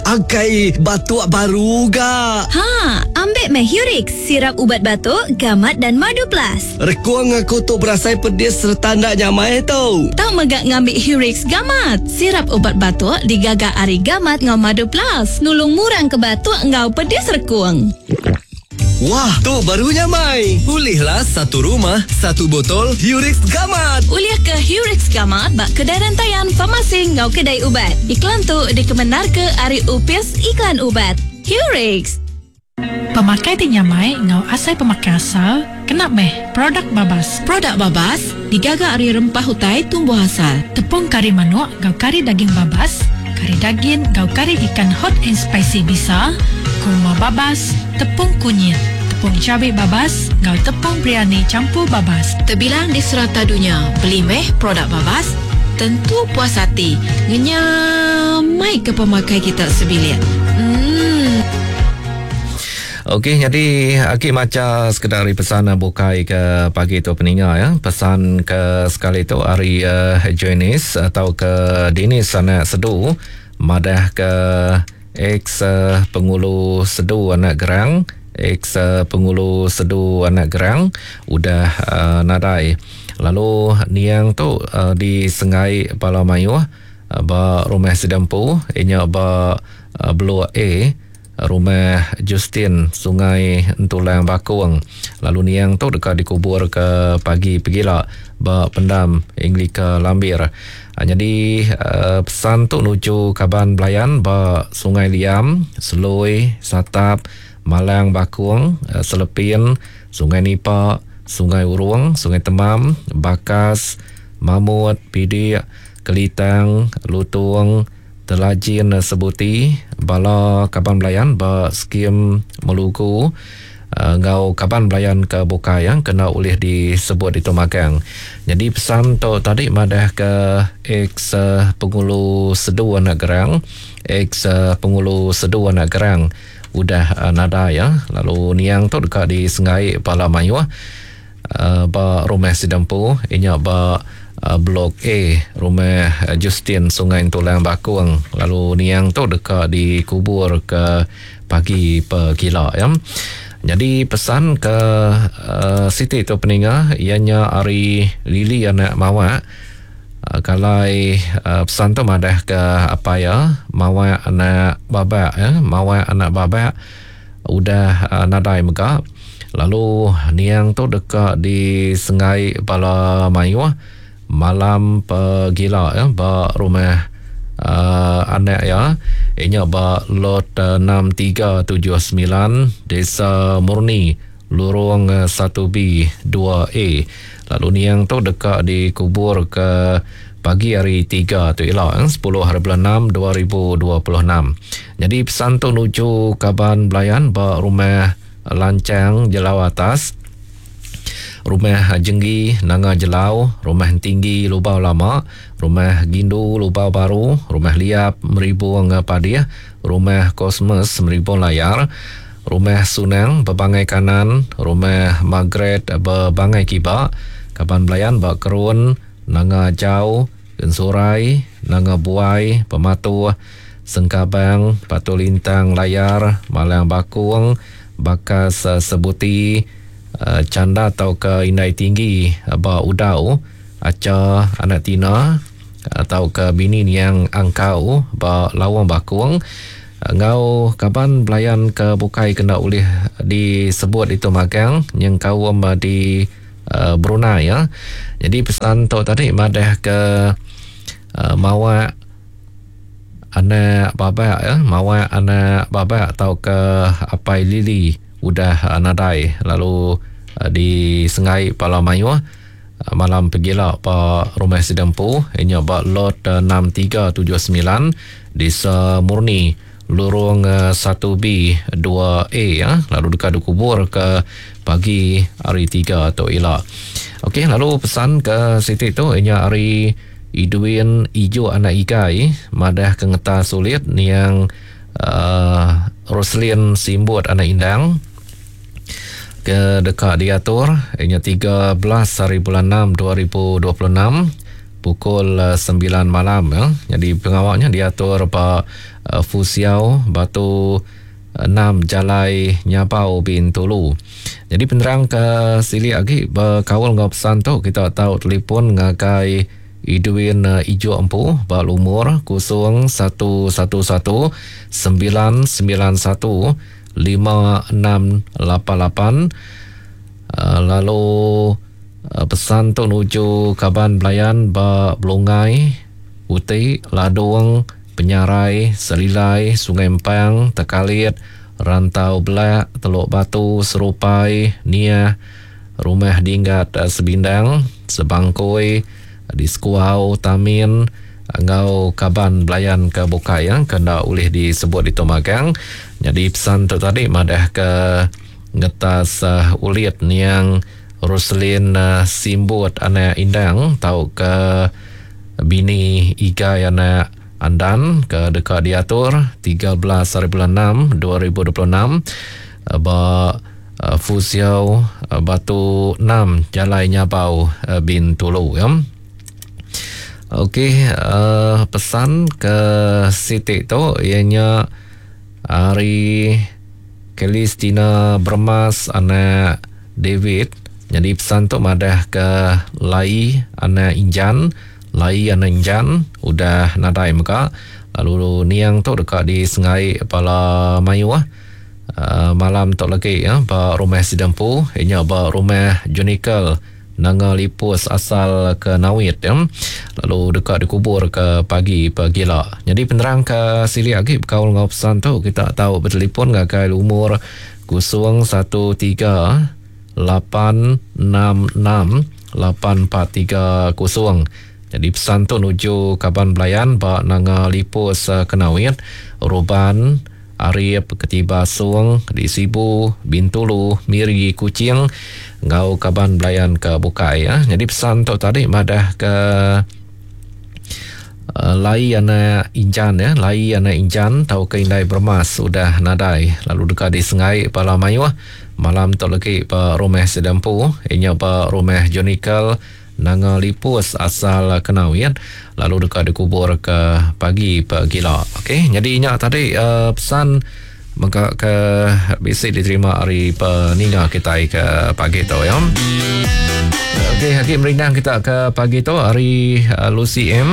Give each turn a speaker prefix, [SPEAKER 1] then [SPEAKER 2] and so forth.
[SPEAKER 1] Akai batuk baru ga.
[SPEAKER 2] Ha, ambik meh Hurix, sirap ubat batuk, gamat dan madu plus.
[SPEAKER 1] Rekung aku tu berasai pedis sereta enda nyamai tu.
[SPEAKER 3] Tau mega ngambi Hurix Gamat, sirap ubat batuk digaga ari gamat enggau madu plus, nulung murang ke batuk enggau pedis rekung.
[SPEAKER 1] Wah, tu baru nyamai.
[SPEAKER 4] Ulihlah satu rumah, satu botol Hurix Gamat.
[SPEAKER 3] Ulih ke Hurix Gamat ba kedai rentayan, farmasi enggau kedai ubat. Iklan tu dikemendarka ari Opis Iklan Ubat. Hurix.
[SPEAKER 5] Pemakai ti nyamai enggau asai pemakai asal kena meh produk babas.
[SPEAKER 6] Produk babas digaga ari rempah utai tumbuh asal.
[SPEAKER 5] Tepung kari manuk enggau kari daging babas, kari dagin enggau kari ikan hot and spicy bisa, kurma babas, tepung kunyit, tepung cabi babas enggau tepung biryani campur babas.
[SPEAKER 6] Tebilang di serata dunya, beli meh produk babas, tentu puas ati ngenyamai ke pemakai kita sebilik. Emm.
[SPEAKER 7] Okey nyadi agi macha sekeda ari pesan bukai ke pagi tu peninga ya. Pesan ke sekali tu ari uh, Janice atau ke Dinis anak Sedu madah ke ex uh, pengulu Sedu anak Gerang, ex uh, pengulu Sedu anak Gerang udah uh, nadai. Lalu niang tu uh, disengai bala mayuh uh, ba rumah sida empu inya ba uh, Blok A Rumah Justin, Sungai Entulang Bakong lalu niang tu deka dikuburka pagi pegila ba Pendam Anglika Lambir. Nyadi pesan tu nuju kaban belayan ba Sungai Liam, Selui, Satap, Malang Bakong, Selepin, Sungai Nipa, Sungai Urung, Sungai Temam, Bakas, Mamut, Pidik, Kelitang, Lutung, Telajin Sebuti, bala kaban belayan ba skim Melugu enggau kaban belayan ke bukai ke enda ulih disebut ditu magang. Nyadi pesan tu tadi madahka ex Pengulu Sedu anak Gerang, ex Pengulu Sedu anak Gerang udah nadai lalu niang tu deka disenggai bala mayuh. Ba rumah sida empu iya nya ba Blok A Rumah Justin Sungai Entulang Bakong lalu niang tu deka dikubur ke pagi pegila ya. Nyadi pesan ke uh, siti tu peninga iya nya ari Lily anak Mawak uh, kalai uh, pesan tu madah ke apai iya Mawak anak Babak ya, Mawak anak Babak Udah nadai mega lalu niang tu deka disenggai bala mayuh malam pegila ba rumah anak iya nya ba Lot 6379 Desa Murni Lurung 1B 2A lalu niang tu deka dikuburka Pagi hari Tiga tu ila, sepuluh hari bulan enam 2026. Nyadi pesan tu nuju kaban belayan ba Rumah Lanchang Jelau Atas, Rumah Jenggi Nanga Jelau, Rumah Entinggi Lubau Lama, Rumah Gindu Lubau Baru, Rumah Liap Meribung Padih, Rumah Cosmas Meribung Layar, Rumah Sunang Bebangai Kanan, Rumah Margaret Bebangai Kiba, kaban belayan ba Kerun, Nanga Jau, Ensurai, Nanga Buai, Pematuh, Sengkabang, Batu Lintang Layar, Malang Bakung, Bakas Sebuti, Chanda tauka Indai Tinggi ba Udau, Acha anak Tina tauka bini niang Angkau ba Lawang Bakung enggau kaban belayan ke bukai ke enda ulih disebut ditu magang nyengkaum di Brunei ya. Jadi pesan tu tadi madah ke uh, mawak anak babak ya, mawak anak babak atau ke apai Lili udah uh, nadai lalu uh, di Sengai Pala Mayuh uh, malam pegila ba rumah sida empu inya ba lot uh, 6379 Desa Murni Lurung 1B 2A ya lalu deka dikubur ke pagi hari 3 tu ila. Okey lalu pesan ke siti tu inya ari Idwin Ijuk anak Igai madah ke ngeta sulit niang uh, Roslin Simbut anak Indang ke deka diatur inya 13 hari bulan 6 2026. pukul 9 malam ya. Jadi pengawa nya diatur ba Fusiau Batu 6 Jalai Nyabau Bintulu. Jadi penerang ke silik agi bekaul enggau pesan tu kita tau telefon ngagai Edwin Ijok empu ba lumur 0111 991 5688 lalu pesan tu nuju kaban belayan ba Belungai, Uti, Ladung, Penyarai, Selilai, Sungai Empang, Tekalit, Rantau Belak, Teluk Batu, Serupai, Niah, Rumah Dinggat Sebindang, Sebangkoi, di Sekuau, Tamin enggau kaban belayan ke bukai ke enda ulih disebut ditu magang. Nyadi pesan tu tadi madah ke ngetas ulit niang Roselyn Simbut anak Indang tauka bini Igai anak Andan ke deka diatur 13 hari bulan 6 2026 ba Fusiau Batu 6 Jalai Nyabau Bintulu ya. Okey pesan ke siti tu iya nya ari Kelistina Bermas anak David nyadi pesan tu madah ke Lai anak Injan, Lai anak Injan udah nadai mega lalu niang tu deka disengai bala mayuh uhh malam tu lagi ba rumah sida empu iya nya ba rumah Junical. Nanga Lipus asal ke Nawit ya, lalu deka dikubur ke pagi pegila. Nyadi penerang ke silik agi bekaul enggau pesan tu kita tau betelefon ngagai lumur 013 866 8430. Nyadi pesan tu nuju kaban belayan ba Nanga Lipus Kenawit, Ruban, Arip, Ketiba Song, di Sibu, Bintulu, Miri, Kuching enggau kaban belayan ke bukai. Nyadi pesan tu tadi madah ke Lai anak Injan ya, Lai anak Injan tauka indai Bermas udah nadai lalu deka disengai bala mayuh malam tu legi ba rumah sida empu iya nya ba rumah Jonical Nanga Lipus asal Kenawit lalu deka dikubur ke pagi pegila. Okey, nyadi nya tadi uh, pesan mega ke bisi diterima ari peninga kitai ke pagi tu ya. Okey, agi merindang kita ke pagi tu ari uh, Lucy M.